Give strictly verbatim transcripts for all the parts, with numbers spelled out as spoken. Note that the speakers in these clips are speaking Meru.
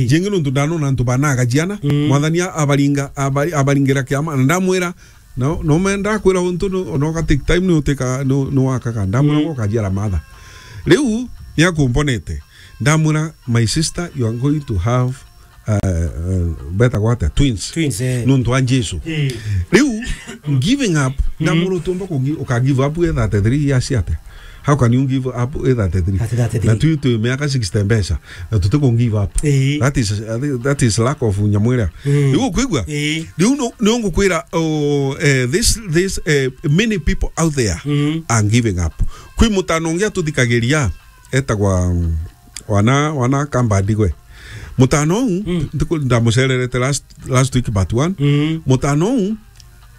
Jingi nontu ndanona antu banaga ciana, Mm. Mwathani a-, abaringa, abari-, abaringira kiama, na ndamwira, no, no menda kwira untu, no, no ga take time, ni utika, no, no wakaga. Ndamwira, Mm. "Goka ciara matha." Riu, ni akumbonete. Ndamwira, "My sister, you are going to have, uh, uh, beta gwata, twins." Twins, eh. Nontu wa Jesu. Eh. Riu, giving up, Mm. ndamwira, "Utumba kungi-, uka give up wi thirty-three years ate? How can you give up wi thirty-three?" Ati thirty-three. Na tu, tu miaka sixty mbeca. Na tuti ku give up. Eh. That is, that is lack of nyamwira. Mm. Riu ukwigua? Eh. Riu no, no ngukwira, oh, eh, this, this, eh, many people out there Mm. are giving up. Kwi mutano ungi atuthikagiria, etagwa, mm, wana, wana Kambandi gwe. Mutano uu, Mm. ndiku-, ndamucererete last, last week but one. Mm. Mutano uu,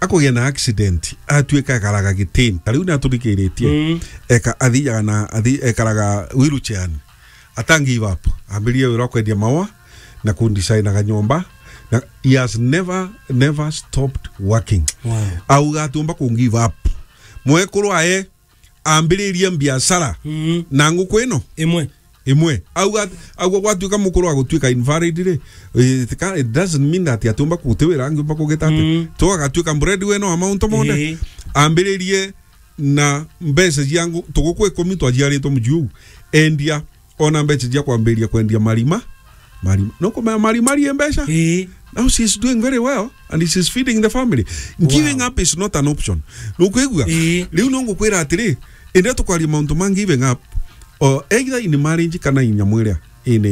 akugia na accident, atuika ekaraga gitini. Ta riu ni aturikiiritie. Mm. Eka-, athiaga na, athi-, ekaraga wheelchair. Ata give up. Ambiririe wira wa kwendia maua na kundisainaga nyomba. Na he has never, never stopped working. Wow. Auga atiumba ku give up. Mwekuru aye ambiririe biashara Mm. na nguku ino Imwe. imwe. Auga, auga gwatuika mukuru wa gutuika invalid ri, it ca-, it doesn't mean that atiumba kuti wira angiumba kugita ati. Mm. Tu agatuika breadwinner wa mauntu monthe. Ii. Ambiririe na mbeca cia ngu-, tuguku ikumi twaciaritwe muciu. Endia ona mbeca cia kwambiriria kwendia marima. Marima. No kumenya marima rie mbeca. Ii. Now she's doing very well and she's feeding the family. Giving Wow. up is not an option. Nukwigua? Ii. Riu no ngukwira atiri, indi tukwaria mauntu ma giving up, or either in marriage kana in nyamwiria, in,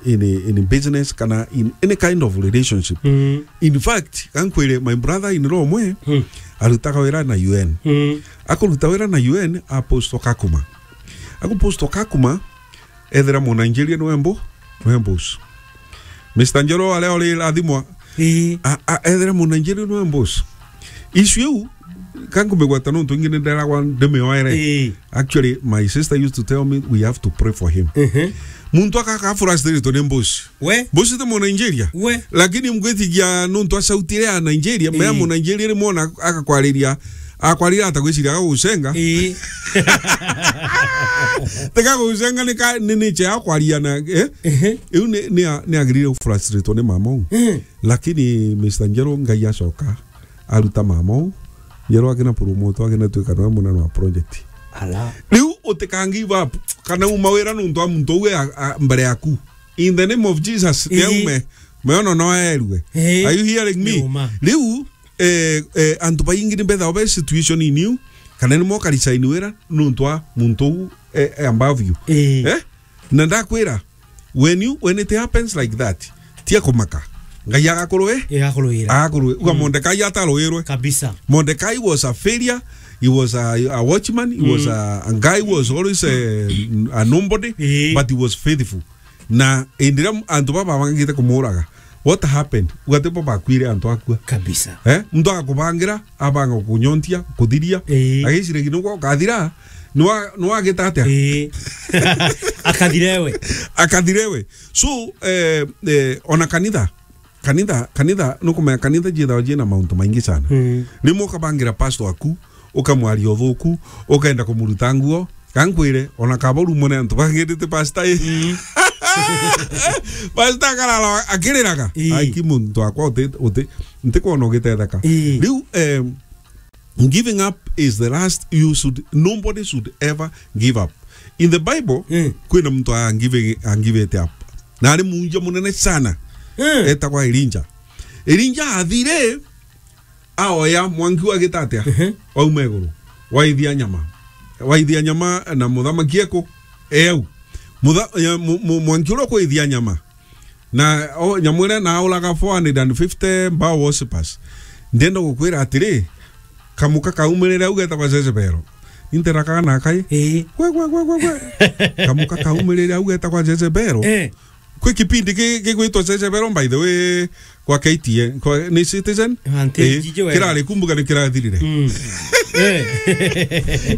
in, in business kana in any kind of relationship. Mm. In fact, kankwire, my brother in law umwe, Hmm. arutaga wira na U N. Mm. Akuruta wira na U N, aposto Kakuma. Akuposto Kakuma, ethira Munigeria niwe mbu-, niwe boss. Mister Njoro aria uri rathimwa, Ii. a, a, ethira Munigeria niwe boss. Issue iu, ka nkumigweta nontu ingi ni nderagwa ndimioere. Ii. Actually, my sister used to tell me we have to pray for him. Mhm. Muntu akaka frustrated ni boss. We? Boss ti Munigeria. We? Lakini mgwitigia nontu acautire a Nigeria, mea Ii. Munigeria rimwe ona agakwariria, akwariria ata gwiciria agagucenga. Ii. Tega gucenga ni ka, ni nature ya kwaria na, eh? Ehe. Iu ni, ni a-, ni agirire gufrustrate ni mama uu. Eh. Lakini Mister Njero Ngai acoka aruta mama uu. Njero akina promote, akina twika niwe munene wa project. Ala. Riu utika give up. Kana uma wira nontu wa muntu uu e a, a, mbere yaku. In the name of Jesus, Ii. ni aume. Meono no aerue. Ii. Are you hearing me? Ni uma. Riu eh, eh, antu baingi ni mbethawa be situation in you, kana ni mokarisaini wira nontu wa muntu uu, eh, eh, above you. Ii. Eh? Na ndakwira, when you, when it happens like that, tia kumaka. Ngai agakurwe? Ii, agakurwira. Agakurwe. Uga Mm. Mordekai atarwirwe. Kabisa. Mordekai was a failure. He was a, a watchman. He was Mm. a, a guy who was always a, a nobody, Ii. but he was faithful. Na indira antu baba bangite kumuraga, what happened? Ugati bo bakwire antu akua. Kabisa. Eh? Muntu agakubangira, abanga kunyontia, kuthiria. Ii. Agicire ginugwa ukathira, nwa, nwagita atia? Ii. Akathire we. Akathire we. So, eh, eh, ona kanitha, kanitha, kanitha, nukumenya kanitha jithawa jina mauntu maingi sana. Mm. Rimwe ukabangira pastor aku, ukamwaria uthuku, ukenda kumuruta nguo. Kankwire, ona kaba urumwe ni antu bangirite pastor ii. Mm. Pastor akarara akiriraga. Ii. Aiki muntu akwa uti, uti, ntikwona ugitetheka. Ii. Riu, em, giving up is the last, you should, nobody should ever give up. In the Bible, Mm. kwina muntu angivi-, angivite up. Na ari munja munene sana. Mm. Etagwa Elijah. Elijah athire, aoya mwanki wagita atia? Ehe. Wauma iguru. Waithia nyama. Waithia nyama na muthamaki eku. Eu. Mutha-, ya, mu-, mu-, mwanki uria ukwithia nyama. Na, o, nyamu iria na auraga four hundred and fifty Baal worshippers. Ndenda gukwira atiri, kamuka kaumirire au getagwa Jezebel. Ni nterakaga na akai. Ii. Gwe, gwe, gwe, gwe, gwe. Kamuka kaumirire au getagwa Jezebel. Eh. Kwi kipindi ki-, gigwitwa Jezebel, by the way, kwa K T N, kwa, ni Citizen? Auntie, Eh, jiji we. Kirari kumbuka ni kirathirire. Mm. Eh.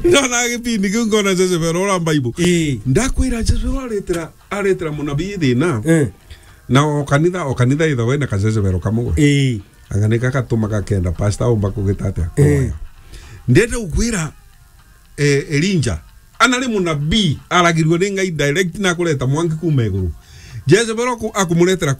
Ndona gipindi kiu ngona Jezebel ura Bible. Ii. Ndakwira Jezebel aretera, aretera munabii thina. Eh. Na o kanitha, o kanitha ithawe na ka Jezebel kamwe. Ii. Anga ni gakatuma gakenda pastor aumba kugita atia? Eh. Kuoya. Ndenda gukwira, eh, Elijah, ana ari munabii, aragirwe ni Ngai direct na kureta mwanki kuuma iguru. Jezebel aku-, akumuretera